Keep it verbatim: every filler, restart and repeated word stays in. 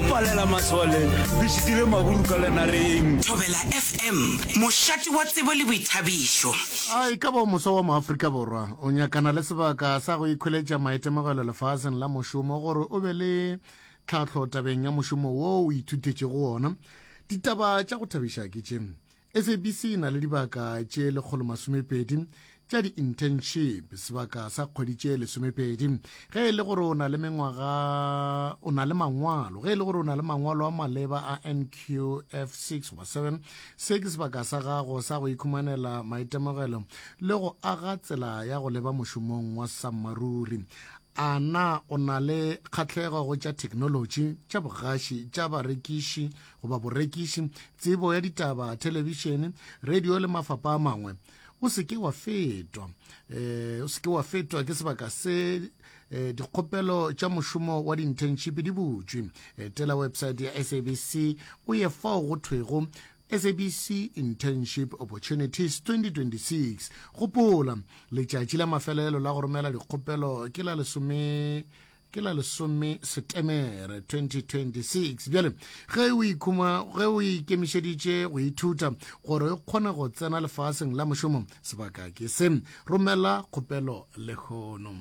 palela masole re šitile maburu ka lenareng. Thobela F M, mošate wa tsebo le boithabišo. A e ka ba o moswa wa Moafrika Borwa o nyakana le sebaka sa go ikhweletša maitemogelo lefaseng la mošomo gore o be le tlhahlo tabeng ya mošomo wo o ithutetšego wona? Ditaba tša go thabiša ke tše, S A B C e na le dibaka tše lekgolo masomepedi tša di-internship, sebaka sa kgwedi tše lesomepedi. Ge e le gore o na le mengwaga, o na le mangwalo, ge e le gore o na le mangwalo a maleba a N Q F six goba seven, se ke sebaka sa gago sa go ikhumanela maitemogelo le go aga tsela ya go leba mošomong wa sammaruri. A na o na le kgahlego go tša theknolotši, tša bogaši, tša barekiši goba borekiši, tsebo ya ditaba, thelebišene, radio le mafapa a mangwe? O se ke wa fetwa um o se ke wa fetwa ke sebaka se. um dikgopelo tša mošomo wa di-internship di butšwe. Etela website ya S A B C, o ye fao go thwego S A B C Internship Opportunities twenty twenty-six. Gopola, letšatši la mafelelo la go romela dikgopelo ke la lesome ke la lesome Setemere twenty twenty-six. Bjale ge o ikhuma ge o ikemišeditše go ithuta gore o kgone go tsena lefaseng la mošomo, sebaka ke se. Romela kgopelo lehono.